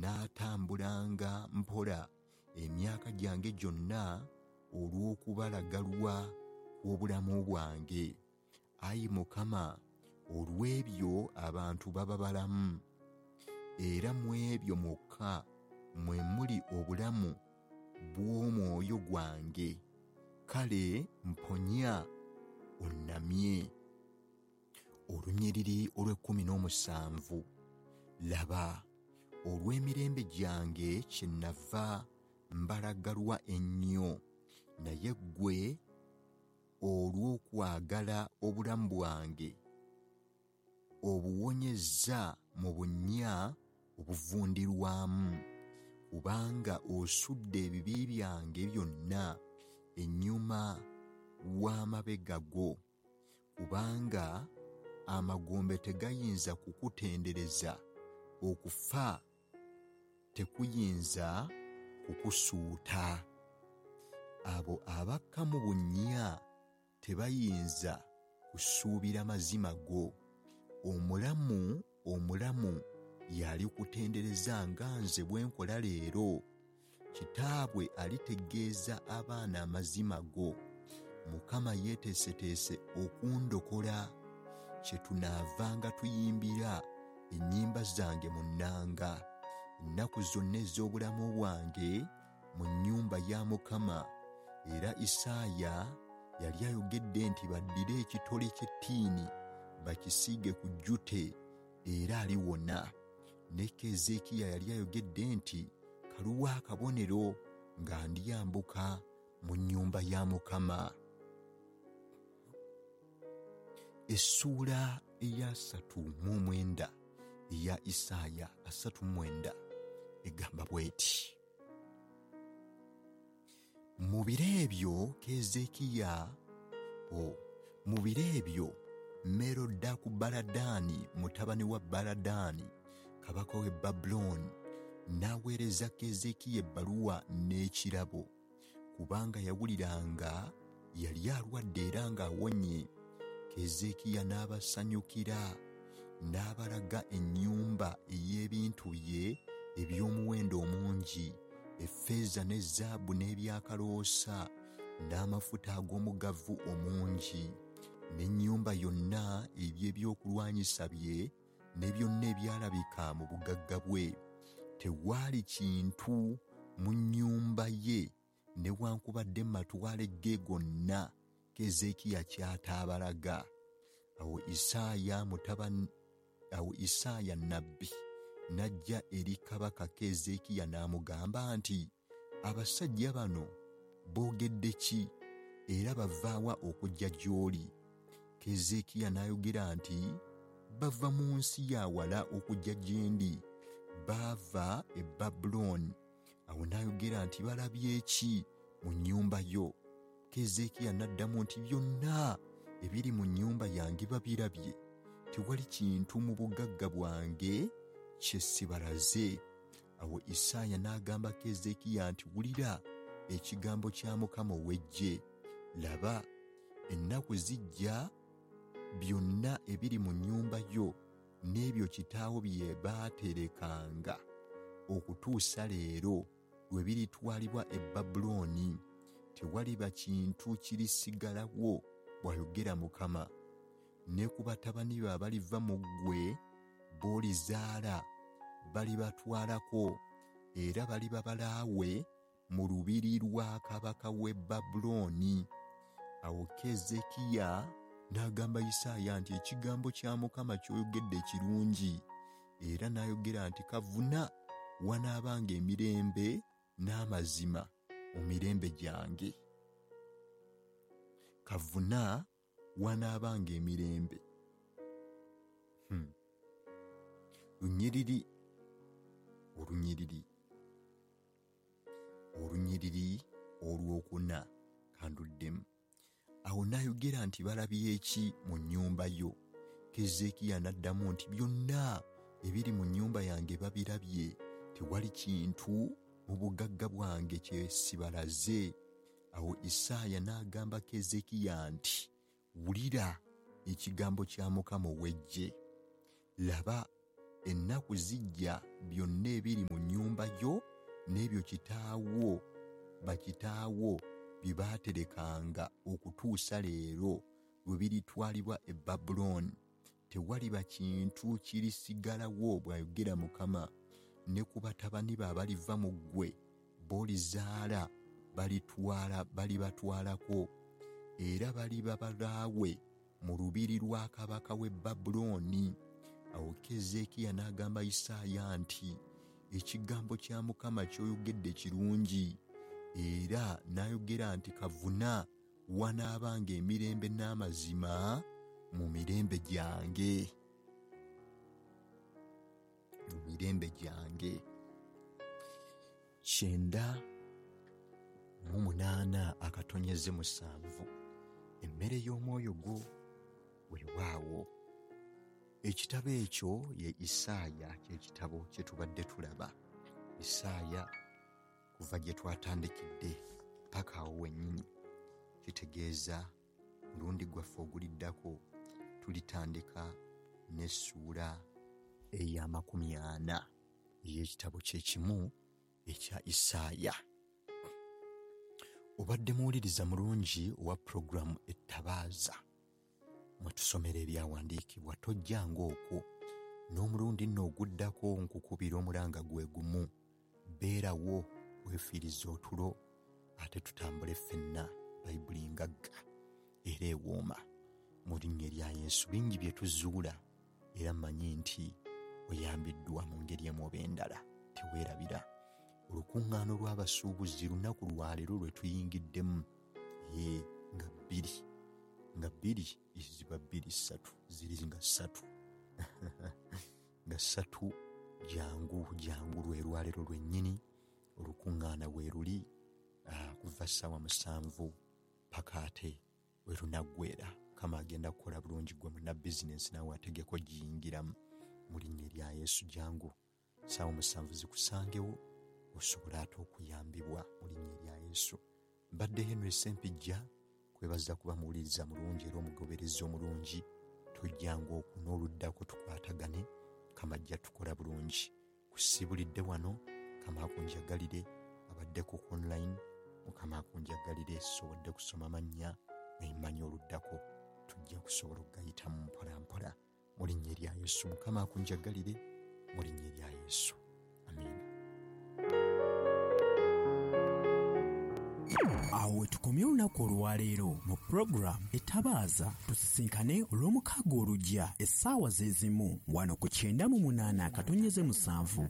Naatambulanga mpola emyaka gyange gyonna olw'okubalagalwa kw'obulamu bwange. Ayi Mukama, olw'ebyo abantu baba balamu, era mu ebyo mwokka mwe muli obulamu bw'omwoyo gwange. Kale mponya onnamye. Olunyiriri olw'e17. Laba, olw'emirembe gyange kyennava mbalagalwa ennyo, naye ggwe olw'okwagala obulamu bwange obuwonyezza mu bunnya obuvundirwamu, kubanga osudde ebibi byange byonna ennyuma w'amabega go. Kubanga amagombe tegayinza kukutendereza, okufa tekuyinza kukusuuta. Abo abakka mu bunnya tebayinza kusuubira mazima go. Omulamu omulamu y'alikutendereza nga nze bwe nkola leero. Kitaabwe alitegeeza abaana amazima go. Mukama yeeteeseteese okundokola, kyetunaavanga tuyimbira ennyimba zange mu nnanga ennaku zonna ez'obulamu bwange mu nnyumba ya Mukama. Era Isaaya yali ayogedde nti baddire ekitole ky'ettiini bakisiige ku jjute, era aliwona. Ne Keezeekiya yali ayogedde nti kaluwa akabonero nga ndyambuka mu nnyumba ya Mukama. Essuula eya 39 eya Isaaya 39 egamba bw'eti: Mu biro ebyo Keezeekiya mu biro ebyo Merodaku-Baladaani mutabani wa Baladaani kabaka w'e Babulooni n'aweereza Keezeekiya ebbaluwa n'ekirabo, kubanga yawuliranga yali alwadde era ng'awonye. Keezeekiya n'abasanyukira, n'abalaga ennyumba ey'ebintu bye eby'omuwendo omungi, effeeza ne zaabu n'ebyakaloosa n'amafuta ag'omugavu omungi, n'ennyumba yonna eby'ebyokulwanyisa bye ne byonna ebyalabika mu bugagga bwe. Tewaali kintu mu nnyumba ye newankubadde mu matwale ge gonna Keezeekiya ky'ataabalaga. Awo Isaaya nnabbi n'ajja eri kabaka Keezeekiya n'amugamba nti, abasajja bano boogedde ki, era bavaawa okujja gy'oli? Keezeekiya n'ayogera nti, bava mu nsi ya wala okujja gye ndi, baava e Babulooni. Awo n'ayogera nti, balabye ki mu nnyumba yo? Keezeekiya n'addamu nti, byonna ebiri mu nnyumba yange babirabye, tewali kintu mu bugagga bwange kye sibalaze. Awo Isaaya n'agamba Keezeekiya nti, wulira ekigambo kya Mukama ow'eggye. Laba, ennaku zijja byonna ebiri mu nnyumba yo n'ebyo kitaawo bye baaterekanga okutuusa leero lwe biritwalibwa e Babulooni. Tewaliba kintu kirisigalawo, bw'ayogera Mukama. Ne ku batabani be abaliva mu ggwe b'olizaala balibatwalako, era baliba balaawe mu lubiri lwa kabaka w'e Babulooni. Awo Keezeekiya n'agamba Isaaya nti, ekigambo kya Mukama ky'oyogedde kirungi. Era n'ayogera nti, kavuna wanaabanga emirembe n'amazima mu mirembe gyange. Kavuna wanaabanga emirembe. Lunyiriri olunyiriri olunyiriri olwokuna kanduddemu. Awo n'ayogera nti, balabye ki mu nnyumba yo? Keezeekiya n'addamu nti, byonna ebiri mu nnyumba yange babirabye, tewali kintu mu bugagga bwange kye sibalaze. Awo Isaaya n'agamba Keezeekiya nti, wulira ekigambo kya Mukama ow'eggye. Laba, Ennaku zijja byonna ebiri mu nnyumba yo n'ebyo kitaawo bakitaawo bye baaterekanga okutuusa leero lwe biritwalibwa e Babulooni. Tewaliba kintu kirisigalawo, bw'ayogera Mukama. Ne ku batabani be abaliva mu ggwe b'olizaala balibatwalako, era baliba balaawe mu lubiri lwa kabaka w'e Babulooni. Awo Keezeekiya n'agamba Isaaya nti, Ekigambo kya Mukama ky'oyogedde kirungi. Era n'ayogera nti, Kavuna wanaabanga emirembe n'amazima mu mirembe gyange. Mu mirembe gyange. 98.7 Emmere y'omwoyo gwo weewaawo. Ekitabo ekyo ye Isaaya, ky'ekitabo kye tubadde tulaba. Isaaya kuva gye twatandikidde paka awo wennyini. Kitegeeza mulundi gwaffe oguliddako tulitandika n'essuula eya 40 ey'ekitabo kye kimu ekya Isaaya. Obadde muwuliriza mulungi owa pulogulaamu Ettabaaza mwe tusomera ebyawandiikibwa. Tojjanga okwo n'omulundi nno oguddako nkukubira omulanga gwe gumu. Beerawo weefiirize otulo ate tutambule ffenna. Bayibuli ngagga era ewooma mu linnya erya Yesu. Bingi bye tuzuula era mmanyi nti oyambiddwa mu ngeri emu oba endala. Teweerabira olukuŋŋaana olw'abasuubuzi lunaku lwaleero lwe tuyingiddemu, nga 2 ziba 2 3 ziri nga 3 nga 3. Jangu jangu lwe lwaleero lwennyini olukuŋŋaana we luli kuva ssaawa 7 paka ate we lunaggweera. Mukama agenda kukola bulungi gwe munna bizinensi naawe ategeko giyingiramu mu linnya erya Yesu. Jangu ssaawa 7 zikusangewo osobola ate okuyambibwa mu linnya erya Yesu. Mbadde Henry Ssempijja, kwebaza kuba muwuliriza mulungi era omugoberezi omulungi. Tojjanga okwo n'oluddako tukwatagane. Mukama ajja tukola bulungi. Kusibulidde wano, Mukama akunjagalire. Abaddeko ku online, Mukama akunjagalire. Sobodde kusoma mannya naye mmanyi oluddako tujja kusobola okugayitamu mpola mpola mu linnya erya Yesu. Mukama akunjagalire mu linnya erya Yesu. Amiina. Awo we tukomye olunaku olwaleero mu pulogulaamu Etabaaza. Tusisinkane olw'omukaaga olujja essaawa ze zimu wano ku 98.7.